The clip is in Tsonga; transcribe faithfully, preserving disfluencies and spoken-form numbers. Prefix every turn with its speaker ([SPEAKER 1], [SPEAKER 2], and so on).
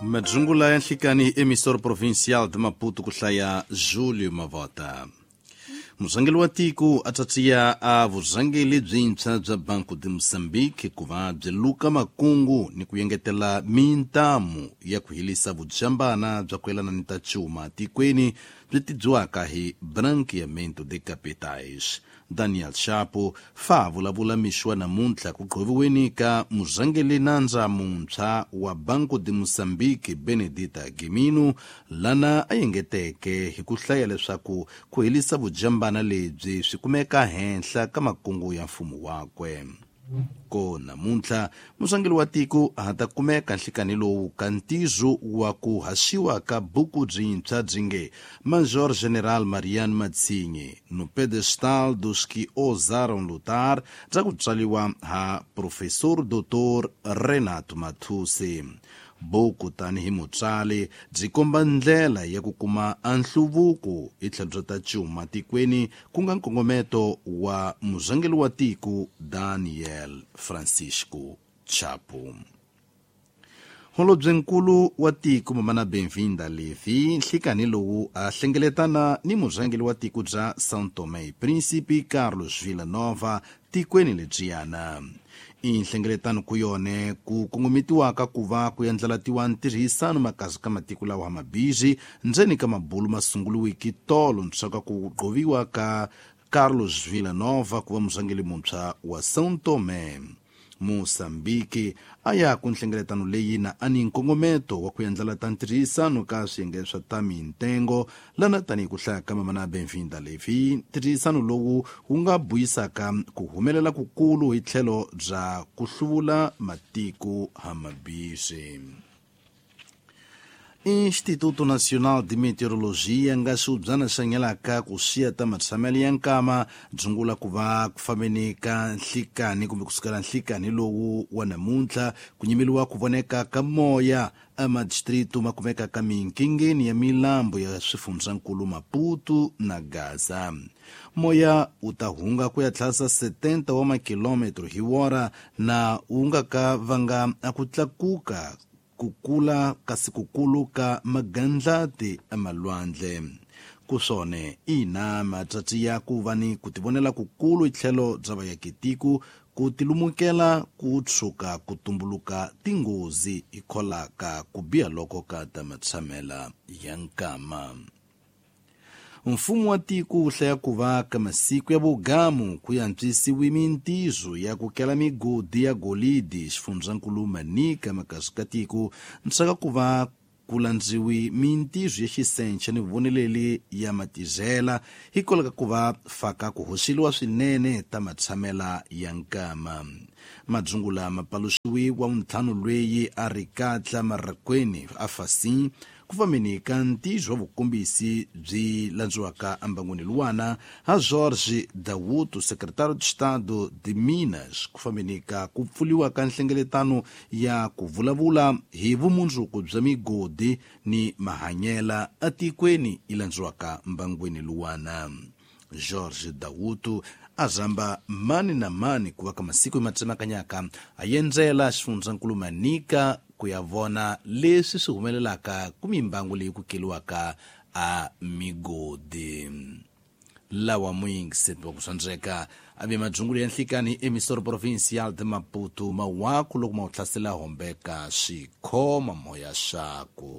[SPEAKER 1] Madzungula ya nhlikani emissor provincial de Maputo ku hlaya Julio Mavota. Murhangeri wa tiko a tatiya a vurhangeri byintshwa bya Banco de Moçambique ku va byi luka makungu ni ku yengetela mintamu ya ku helisa vujambana bya ku yelana ni ta cuma tikweni byi tibyaka hi branqueamento de capitais. Daniel Chapo fa vulavula mixo wa namuntlha ku qhoviweni ka murhangeri nandza muntshwa wa Banco de Moçambique Benedita Gimino, lana a yengeteke hi ku hlaya leswaku ku helisa vujambana lebyi swi kumeka henhla ka makungu ya mfumo wakwe. Ko namuntlha murhangeri wa tiko a ta kumeka nhlikani lowu ka ntizo wa ku haxiwa ka buku byintshwa byi nge Major General Mariano Matsinhe no pedestal dos que ousaram lutar, bya ku tswariwa ha Professor Doutor Renato Mathuse. Buku tanihi mutswari byi komba ndlela ya ku kuma nhluvuko hi tlhelo bya ta cuma tikweni, ku nga nkongometo wa murhangeri wa tiko Daniel Francisco Chapo. Holobyenkulu wa tiko Mamana Benvinda Levi nhlikani lowu a hlengeletana ni murhangeri wa tiko bya São Tomé e Príncipe Carlos Villanova tikweni lebyiyana. I nhlengeletano ku yone ku kongometiwaka ku va ku endlelatiwa ntirhisano makazi ka matiko lawa mabisi ndzeni ka mabulu masunguriwiki tolo ntswaka ku qoviwa ka Carlos Villanova ku va murhangeri muntshwa wa São Tomé. Moçambique a ya ku nhlengeletano leyi na ani nkongometo wa ku endlela ta ntirhisano ka swiyenge swa ta mintengo lana tanihi ku hlaya ka Mamana Benvinda Levi. Ntirhisano lowu wu nga buyisaka ku humelela kukulu hi tlhelo bya ku hluvula matiko hamabisi. Instituto Nacional de Meteorologia nga xiubyana xa nyelaka ku xiya ta matshamelo ya nkama dzungula ku va ku fambeni ka nhlikani kumbe kusukela nhlikani lowu wa namuntlha ku nyimeliwa ku voneka ka moya emadistrito ma kumeka ka minkingeni ya milambu ya swifundzankulu Maputo na Gaza. Moya wu ta hunga ku ya tlhasa setenta wa makilometro hi wora na wu nga ka vanga a ku tlakuka kukula kasi kukulu ka magandlati emalwandle. Kusone ina matsatsi ya ku va ni ku tivonela kukulu hi tlhelo bya vayakitiko ku tilumukela ku tshuka ku tumbuluka tinghozi hikholaka ku biha loko ka ta matshamela ya nkama. Mfumo wa tiko wu hlaya ku va ka masiku ya vugamu ku antswisiwe mintizo ya ku kela migodi ya golidi xifundzankulu Manica makasi ka tiko ntsaka ku va ku landziwi mintizo ya xisenche ni voneleli ya matizela hikwalaho ka ku va faka ku hoxeliwa swinene ta matshamela ya nkama. Madzungula ma paluxiwi wa ntlhanu lweyi a ri katla marakweni a fasin ku fambeni ka ntizo wa vukombisi byi landziwaka embangwini luwana ha Jorge Dawuto, secretário de Estado de Minas, ku fambeni ka ku pfuliwa ka nhlengeletano ya ku vulavula hi vumundzuku bya migodi ni mahanyela etikweni yi landziwaka mbangwini luwana. Jorge Dawuto a zamba mani na mani ku va ka masiku matsemakanyaka a yendzela xifundzankulu Manica ku ya vona leswi swi humelelaka ku mimbangu leyi ku keliwaka a migodi. Lawa muyingiseti wa ku swandzeka a ve madzungulu ya nhlikani emissor provincial de Maputo mawaku loko ma wu hlasela hombeka swikhoma moya xaku.